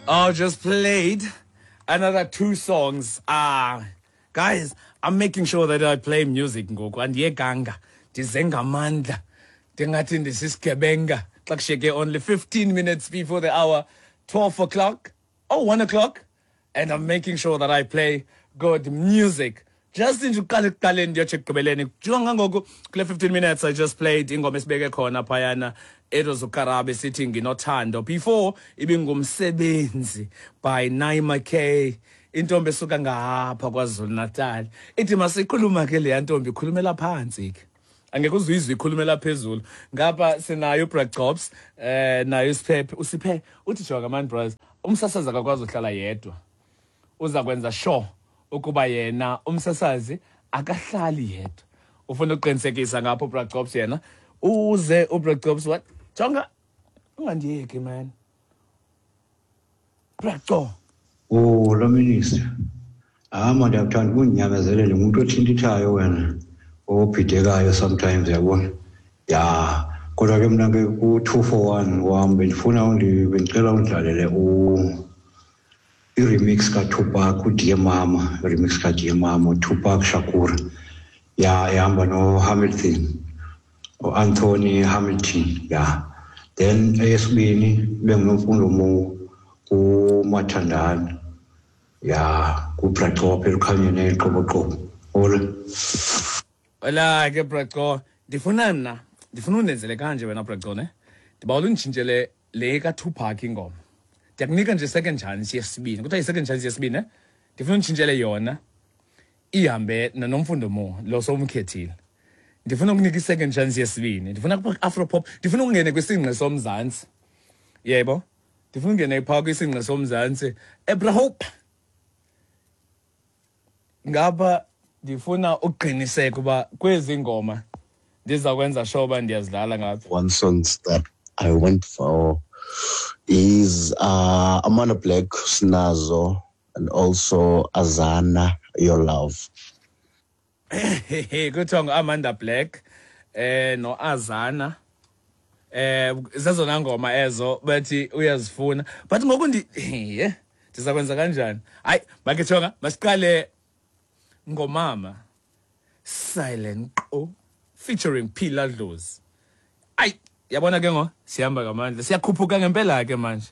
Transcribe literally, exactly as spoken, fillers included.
I just played another two songs. Ah, guys, I'm making sure that I play music ngoku. Andiyekanga, ndize ngamandla. Ndingathi ndisisigebenga. Xa kushiyeke only fifteen minutes before the hour, twelve o'clock, oh, one o'clock. And I'm making sure that I play good music. Just nje uqala ekuqaleni ndiyotsho ekugqibeleni. Jonga ngoku kule fifteen minutes I just played ingoma esibeke khona phayana. It was uKarabe sithi Nginothando. Before ibingumsebenzi by Naima K. Intombi esuka ngapha KwaZulu Natal. Ithi masikhuluma ke leya ntombi ikhulumela phansi ke. Angeke uzuyizwe ikhulumela phezulu. Ngapha sinayo uBra Jobs, eh nayo uSiphephe. Usiphe uthi jonga man bros, umsasazi akakwazi uhlala yedwa. Uza kwenza sure ukuba yena umsasazi akahlali yedwa. Ufuna ukuqinisekisa ngapho uBra Jobs yena. Uze uBra Jobs what? Jonga ungandiyeki man. Bra Jo. Oh, lo minister. Ah, man, ndiyakuthanda ukunyamezelela ngumuntu othintithayo wena. Obhidekayo sometimes yabona. Ya, kodwa ke mina ke ku two four one wami bendifuna undi bendicela undlalele u i-remix kaTupac uDear Mama, i-remix kaDear Mama Tupac Shakur. Ya, ihamba no Hamilton. O Anthony Hamilton, ya. Then eyesibini benguNomfundo Mo kuMathandana. Ya, kuBracop elukhanyeni eliqoboqobo. Hola. Hola ke Braco, ndifuna mna, ndifuna undenzele kanje wena Braco ne. Ndibawela unditshintshele le kaTupac ingoma. Ndiyakunika nje second chance yesibini. Kuthiwa yi-second chance yesibini ne. Ndifuna unditshintshele yona ihambe noNomfundo Mo lo sowumkhethile. Ndifuna ukunika i-second chance yesibini. Ndifuna ku-Afro pop, ndifuna ukungene kwisingqi soMzantsi. Yebo. Ndifuna ungene phaa kwisingqi soMzantsi. Ebra Hope. Ngapha ndifuna ukuqiniseka uba kwezi ngoma ndiza kwenza sure uba ndiyazidlala ngapha. One song that I went for is uh, Amanda Black, Snazo, and also Azana, Your Love. Kuthiwa ngu-Amanda Black eh no-Azana, eh zezona ngoma ezo bathi uyazifuna, but ngoku ndi ye ndiza kwenza kanjani? Hayi, make jonga, masiqale ngomama Silent Qo featuring Phila Dlozi. Ayi, yabona ke ngo sihamba ngamandla, siyakhuphuka ngempela ke manje.